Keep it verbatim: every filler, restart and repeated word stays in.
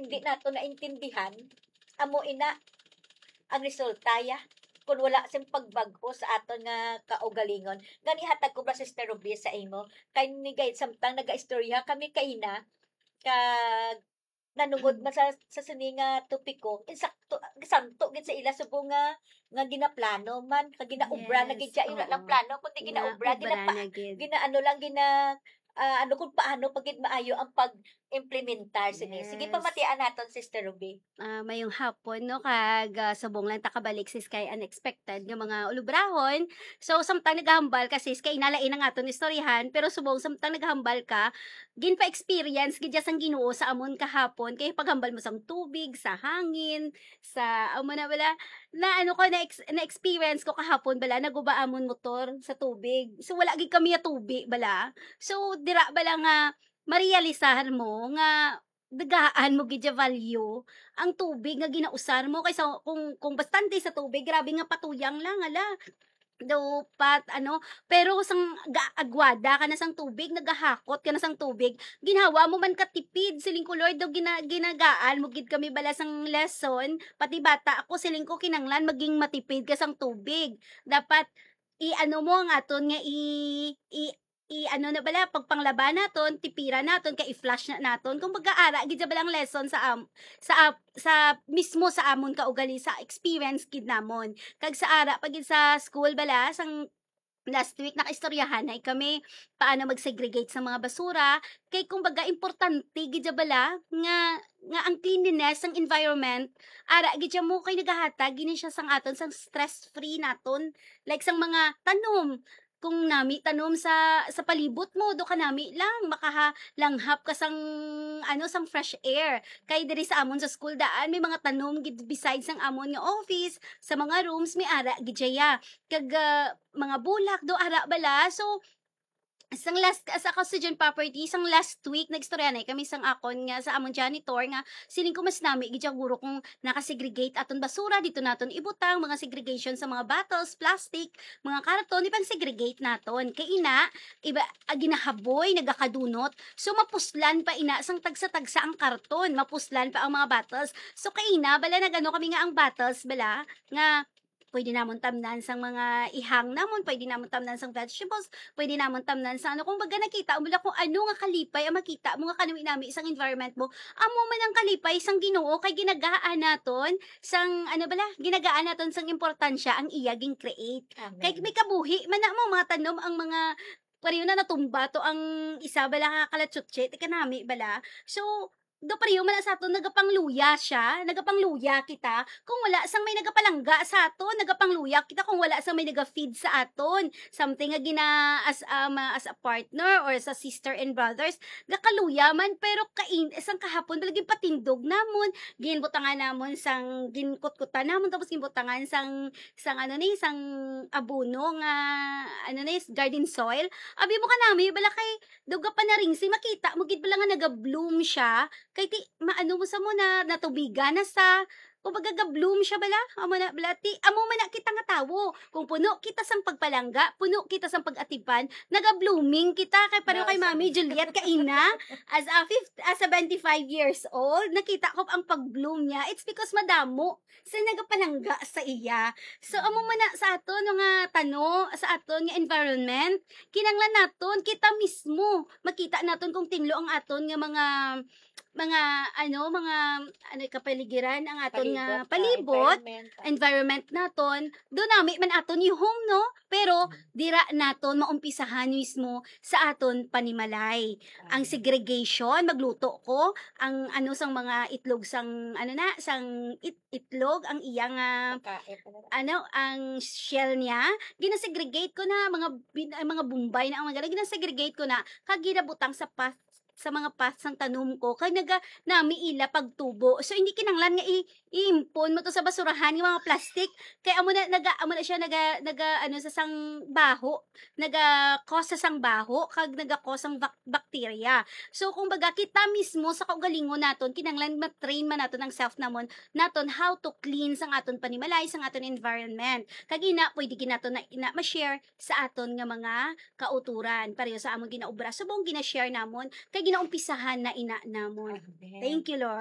hindi nato naintindihan, amo ina ang resulta ya, kung wala sing pagbag-o sa aton nga kaugalingon. Gani hatag ko ba, Sister Ruby, sa imo, kay ni gay samtang nagaistorya kami kaina, kag nanungod man sa, sa sini nga topiko, insakto, santo gid sa ila subong nga, nga ginaplano man, kag ginaobra na gid siya, wala lang plano, kundi ginaobra, ginapa-, gina-, ano lang, gina-, ah, ano kung paano pa gid maayo ang pag-implementar sini. Sige, pamatian naton, Sister Ruby. Ah, mayong hapon, no, kag, ah, subong lang ta kabalik, sis, kay unexpected nga mga ulubrahon. So, samtang nagahambal ka, sis, kay inalain ang aton istoryahan, pero subong samtang nagahambal ka, ginpa-experience gid sang Ginoo sa amon kahapon, kay paghambal mo sang tubig, sa hangin, sa, amo na bala, na ano ko, na ex-, na-experience ko kahapon bala, naguba amon motor sa tubig. So, wala gid kami ya tubig bala. So, dira bala nga marealisar mo nga dagaan mo gid ya value ang tubig nga ginausar mo, kaysa kung, kung bastante sa tubig, grabe nga patuyang lang, ala. Dapat, ano, pero sang gaagwada ka na sang tubig, nagahakot ka na sang tubig, ginhawa mo man katipid, siling ko, Lord, daw gina-, ginagaan mo gid kami bala sang lesson, pati bata ako, siling ko, kinanglan maging matipid ka sang tubig. Dapat i-ano mo ang aton nga i-, i-, i-ano na bala, pagpanglaba naton, tipira naton, kay i-flush na naton. Kumbaga, ara gid siya balang lesson sa am-, sa ap-, sa mismo sa amon kaugali, sa experience gid namon. Kag sa ara pa gid sa school bala, sang last week, nakaistoryahanay kami paano mag-segregate sa mga basura. Kay kumbaga, importante gid siya bala nga, nga ang cleanliness, ang environment, ara gid siya mo kay nagahatag gini siya sang aton sang stress-free naton. Like sang mga tanom, kung nami tanom sa, sa palibot mo, do ka nami lang, makaha-, langhap ka sang, ano, sang fresh air. Kay diri sa amon sa school daan, may mga tanom gid besides sang amon nga office, sa mga rooms, may ara gid siya. Kag, ah, mga bulak, do ara bala. So, sang last, sa ako student property, sang last week, nag-istorya na kami sang akon nga, sa amon janitor nga, siling ko mas nami gid siya guro kung naka-segregate aton basura, dito naton ibutang, mga segregation sa mga bottles, plastic, mga karton, ipang-segregate naton. Kay ina, iba, ah, ginahaboy, nagakadunot. So, mapuslan pa ina sang tagsa-tagsa ang karton, mapuslan pa ang mga bottles. So, kay ina, bala nagano kami nga ang bottles, bala, nga pwede namon tamnan sang mga ihang namon, pwede namon tamnan sang vegetables, pwede namon tamnan sa ano. Kung baga nakita mo lang kung ano nga kalipay ang makita mo nga kanami-nami sang environment mo, amo man ang kalipay sang Ginoo kay ginagaan naton sang, ano bala, ginagaan naton sang importansya ang iya gin-create. Amen. Kay may kabuhi man na mo mga tanom ang mga, pareho na natumba to ang isa bala ka kalatsutsi, ti kanami bala. So, do pareho man na sa aton, nagapangluya siya, nagapangluya kita. Kung wala sang may nagapalangga sa aton, nagapangluya kita kung wala sang may naga-feed sa aton. Something nga gina-, as, um, as a partner or as a sister and brothers, gakaluya man, pero kain-, sang kahapon, bala ginpatindog namon, ginbutangan namon sang, ginkutkutan namon, tapos ginbutangan sang, sang ano ni, sang abono nga, ano ni, garden soil. Abi mo kanami, bala kay, daw gapanaringsi, makita mo gid bala nga naga-bloom siya. Kay ti, maano mo sa mo na, natubigan na sa, kumbaga ga-bloom siya bala. Amo na bala, ti, amo man na kita nga tawo. Kung puno kita sang pagpalangga, puno kita sang pag-atipan, naga-blooming kita. Kay pareho kay Mami Juliet kaina, as a fifth, as seventy-five years old, nakita ko ang pag-bloom niya. It's because madamo sa nagapalangga sa iya. So, amo man na sa aton nga tano, sa aton nga environment, kinanglan naton kita mismo makita naton kung tinlo ang aton nga mga, mga, ano, mga, ano, kapaligiran, ang aton nga palibot, palibot, ah, environment, ah, environment naton, do nami man aton ihum, no? Pero dira naton maumpisahan mismo sa aton panimalay. Ang segregation, magluto ko, ang ano sang mga itlog sang, ano na, sang it-, itlog, ang iya nga, pagkain, ano, ano, ang shell niya, ginasegregate ko na, mga bin-, ay, mga bombay na ang mga gina-segregate ko na, kag ginabutang sa path, sa mga path sang tanom ko, kag naga-, nami ila pagtubo. So, hindi kinanglan nga i-, iimpon mo to sa basurahan, yung mga plastic, kay amo na, naga-, amo na siya, naga-, naga-, ano, sa sang baho, naga-cause sa sang baho, kag naga-cause sang bak-, bacteria. So, kumbaga, kita mismo sa kaugalingon naton, kinanglan ma-train man naton ang self namon, naton how to clean sang aton panimalay, sang aton environment. Kag ina, pwede gid naton na, ina ma-share sa aton nga mga kauturan. Pareho sa amon ginaobra, subong gina-share namon, kay ginaumpisahan na ina namon. Amen. Thank you, Lord.